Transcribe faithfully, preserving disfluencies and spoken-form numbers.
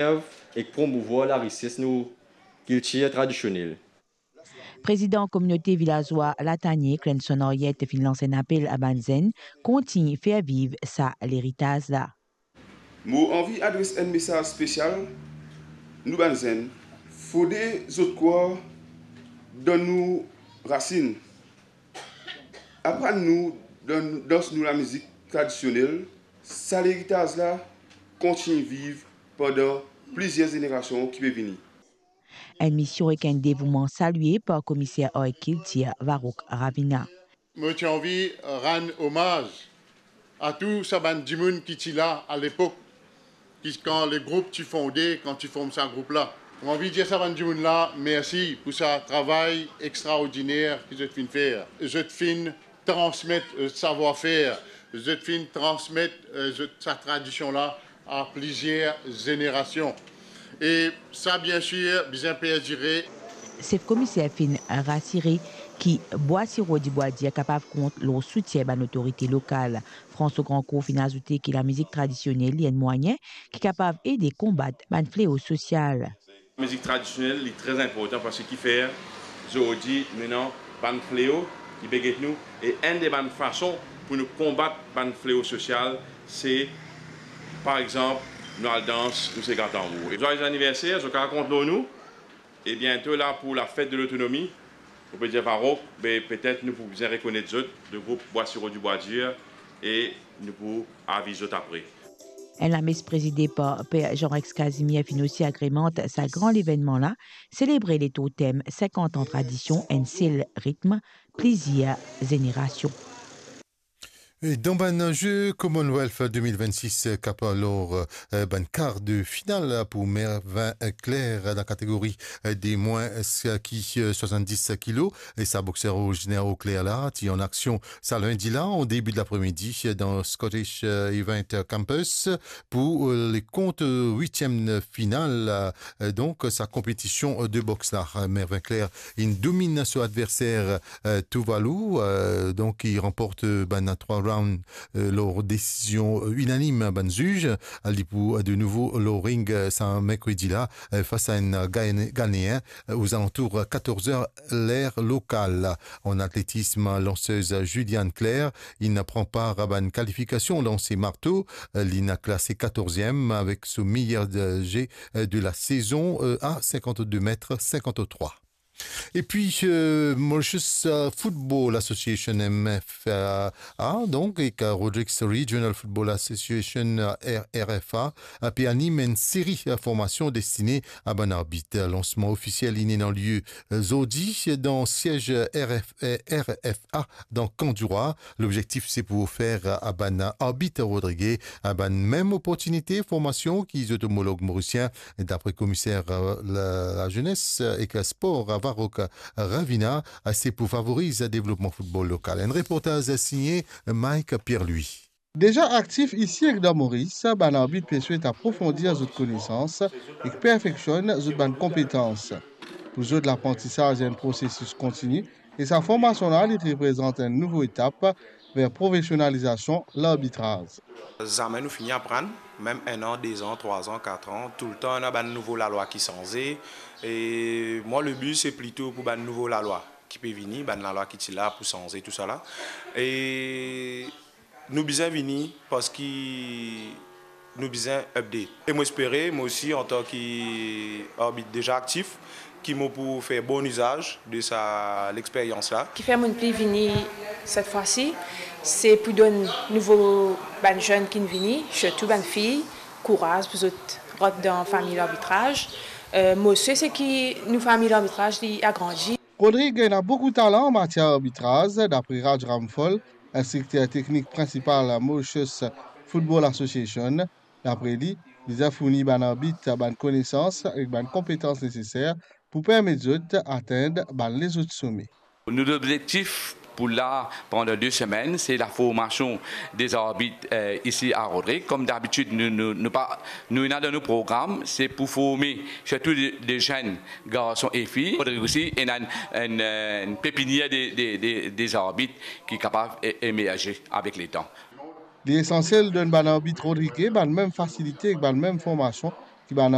ek promouvwar larises nou kiltir tradisionel. Prezidan kominote vilazwa Latanie, Clenson Ariette, finn lans enn apel a bann zenn kontign fer viv sa leritaz la. Mo anvi adres enn mesaz spesial nou bann zenn. Fode zot krwar dan nou rasinn. Aprann nou dan, dans nou lamizik tradisionel. Sa leritaz la kontign viv pandan plizier zenerasion ki pe vini. Enn mision ek enn devouman salie par Komiser Ar ek Kiltir Varrouk Ravina. Mo ti anvi rann omaz a tou sa bann dimoun ki ti la alepok, ki kan le group ti fonde, kan ti form sa group la. Mo anvi dir sa bann dimoun la mersi pou sa travay extraordiner ki zot finn fer. Zot finn transmet, euh, savwar-fer, zot finn transmet, euh, zot sa tradision la a plizier zenerasion. E sa, biensir, bizin perdire. Sef Komiser finn rasire ki Bwa Siro di Bwa Dir kapav kont lor soutien bann lotorite lokal. François Grandcourt finn azoute ki lamizik tradisionel li enn mwayin ki kapav ede konbat bann fleo sosial. Mizik tradisionel, li tre inportan parski ki fer zordi nou ena bann fleo ki pe get nou, e enn de bann fason pou nou konbat bann fleo sosial, se, par exanp, nou al dans, nou se gat tanbour. E zwaye aniverser, zot kapav kont lor nou, e biento la pou lafet de lotonomi, nou pe dir Varrouk, be petet nou pou bizin rekonet zot, le group Bwa Siro di Bwa Dir, e nou pou aviz zot apre. Enn lames prezide par Per Jean-Rex Casimir finn osi agremant sa gran levennman la, selebre le totem sinkant an tradision, enn sel ritm, plizier zenerasion. E dan bann Ze Commonwealth de mil vennsis, Cap Vert lor, eh, bann kar de final pou Mervin Claire dan kategori, eh, de mwin ki, eh, swasanndis kilo. E sa bokser originer Eau Claire la ti an aksion sa lindi la, an debi de lapre-midi, dan Scottish, eh, Event Campus pou, eh, le kont, eh, witiem final, eh, donk, sa konpetision, eh, de boks la. Eh, Mervin Claire inn dominn so adverser, eh, Tuvalu, eh, donk, ki ranport, eh, bann trwa round, eh, lor desizion, eh, inanim bann ziz. Li pou, eh, de nouvo lor ring, eh, sa merkredi la, eh, fas a enn Gane-, Ganeen, eh, ozalantour katorz er ler lokal. An atletism, lansez Julianne Claire inn pran par a bann kalifikasion lanse marto. Li inn klase katorziem avek so meyer, eh, ze, eh, de la sezon, eh, a sinkant-de met sinkant-trwa. Epi, eh, Mauritius, eh, Football Association, M F A, donk, ek, eh, Rodrigues Regional Football Association, eh, R F A, eh, pe anim enn seri, eh, formasion destine a bann arbit. Lansman ofisiel inn ena lie, eh, zordi dan siez R F, eh, R F A dan Kan Dirwa. Lobzektif se pou ofer a bann arbit rodrige a bann mem oportinite formasion ki zot omolog morisien, dapre komiser, eh, la, lazenes ek spor, Varrouk Ravina, eh, se pou favoriz devlopman football lokal. Enn reportaz signe Mike Pierre-Louis. Deza aktif isi ek dan Moris, bann arbit pe swet aprofondir zot konesans ek perfeksionn zot bann konpetans. Pou zot, laprantisaz enn prosesis kontini e sa formasion la, li reprezant enn nouvo etap ver profesionalizasion larbitraz. Zame nou fini aprann, mem enn an, de zan, trwa zan, kat an, toultan ena bann nouvo lalwa ki sanze. E mwa, le bi, se plito pou bann nouvo lalwa ki pe vini, bann lalwa ki ti la pou sanze tousala. E nou bizin vini parski nou bizin update. E mo espere, mo osi, antan ki arbit deza aktif, ki mo pou fer bon izaz de sa lexperyans la. Kifer mo'nn pli vini set fwa si, se pou donn nouvo bann zenn ki'nn vini, sirtou bann fiy, kouraz pou zot rant dan fami larbitraz. Eh, mo swe se ki nou fami larbitraz, li agrandi. Rodrigue ena boukou talan an matier arbitraz, dapre Raj Ramphal, instrikter teknik prinsipal Mauritius Football Association. Dapre li, bizin fourni bann arbit bann konesans ek bann konpetans neseser pou permet zot atenn bann lezot some. Nou lobzektif pou la pandan de semenn, se laformasion de zarbit, eh, isi a Rodrig. Kom dabitid, nou, nou, nou pa, nou ena dan nou program, se pou forme sirtou de, de zenn garson e fiy. Rodrig osi ena enn, enn, enn pepinier de, de, de, de zarbit ki kapav e-, emerze avek letan. Li esansiel donn bann arbit rodrige bann mem fasilite ek bann mem formasion ki bann